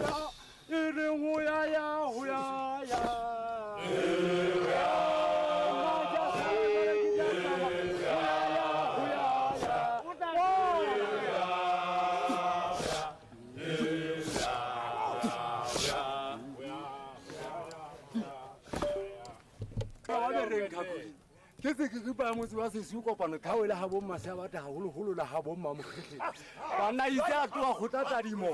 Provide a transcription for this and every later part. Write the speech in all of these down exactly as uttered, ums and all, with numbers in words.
ya e reng ho ya ya ho ya ya ke se ke ripa motse wa Sesiu kopano tlhaole ha bo mmasea batho haholoholo la ha bo mmamokgetleng banna itse a tloha kgotla tadimo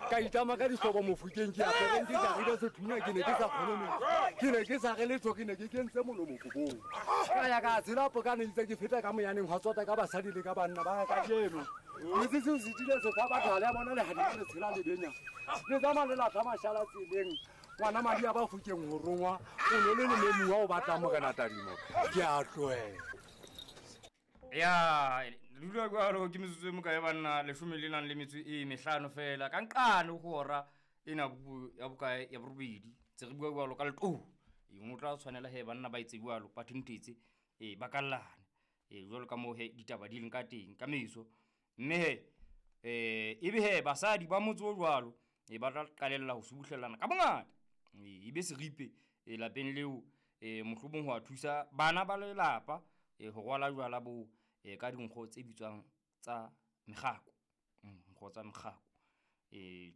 ka itlama ka dihlobo mofokeng ke apereng ke jarile sethunya ke ne ke sa kgone metsi ke ne ke sa re letho ke ne ke kentse molomo kobong ka ya ka tshela pokane itse ke feta ka moyaneng hwa tsota ka basadi le ka banna ba ka kajeno metse seo se tile se fa batho ha le a bona lehadimo le tshela lebenya le tsamaya le latlha mashala tseleng ngwana madi a ba fokeng ho rongwa o ne le lememuwa o batlang morena tadimo ke a tlohela. Ya dula jwalo ke metsotso e mokae banna leshome le nang le metso e mehlano fela ka nqane ho hora ena ya bokae ya borobedi tse re bua jwalo ka leqo e o tla tshwanela he banna ba itse jwalo ba thintetse e ba kallane e jwalo ka moo he ditaba di leng ka teng ka meso mme he eh ebe he basadi ba motse o jwalo e ba tla qalella ho subuhlellana ka bongata e be seripe e lapeng leo e mohlomong ho a thusa bana ba lelapa e ho rwala jwala bo e ka dinkgo tse bitswang tsa mekgako nkgo tsa mekgako e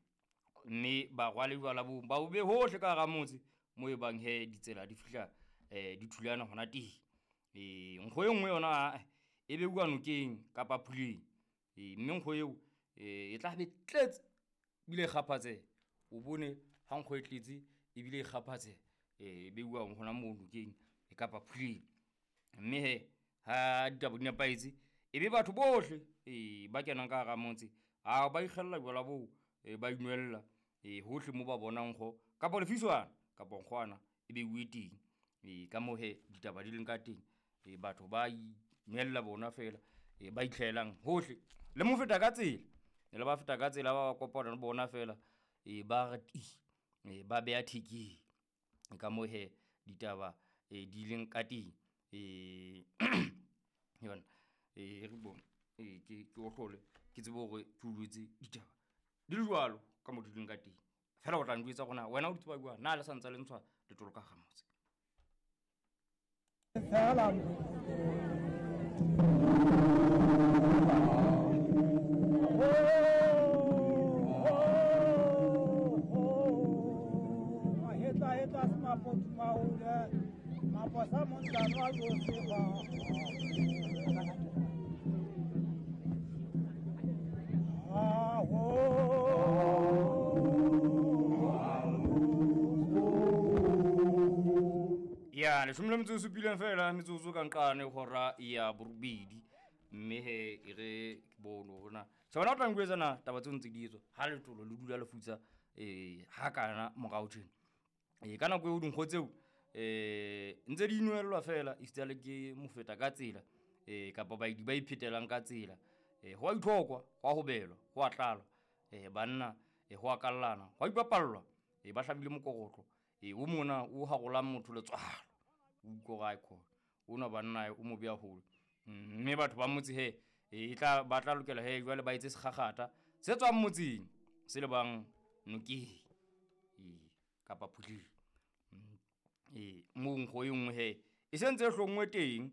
mme ba rwale jwala bo ba o be hohle ka hara motse mo e bang he ditsela di fihla eh di thulana hona teng e nkgo e nngwe yona e be bua nokeng kapa phuleng e mme nkgo eo e tla be tletse bile kgaphatse o bone ha nkgo e tletse ebile e kgaphatse e beuwa hona moo nokeng e kapa phuleng mme he ha ditaba di nepahetse e be batho bohle e ba kenang ka hara motse a ba ikgella jwala boo e ba inwella e hohle mo ba bonang nkgo kapa lefiswana kapa nkgwana e beuwe teng e ka moo he ditaba di leng ka teng e batho ba inwella bona fela e ba itlhelang hohle le mo feta ka tsela le ba feta ka tsela ba kopana le bona fela e ba re ti e ba beya thekeng ka moo he ditaba e di leng ka teng e yona e re bone e ke ke o hlole ke tsebe hore ke utlwetse ditaba di le jwalo ka mo di leng ka teng fela o tla njwetsa rona wena o di tseba jwang na le sa ntse le ntshwa letolo ka hara motse. Ya leshome le metso e supileng fela metsotso ka nqane hora ya borobedi mme he e re ke bone hore na se wena o tla nkuetsa na taba tseo ntse di etswa ha letolo le dula le futsa eh ha kana morao tjena e ka nako eo dinkgo tseo eh ntse di inwellwa fela e sitale ke mofeta ka tsela eh kapa baidi ba iphetelang ka tsela eh ho a ithokwa ho a hobelwa ho a tlalwa eh banna eh ho a kallana ho a ipapallwa eh ba hlabile mokorotlo eh o mona o harolang motho letswalo o utlwa ga khona ona banna o mo beya hole mme batho ba motse he e tla ba tla lokela he jwale ba etse sekgakgata se tswang motseng se le bang nokeng e kapa phuleng e mo nkgo e nngwe he e sentse e hlongwe teng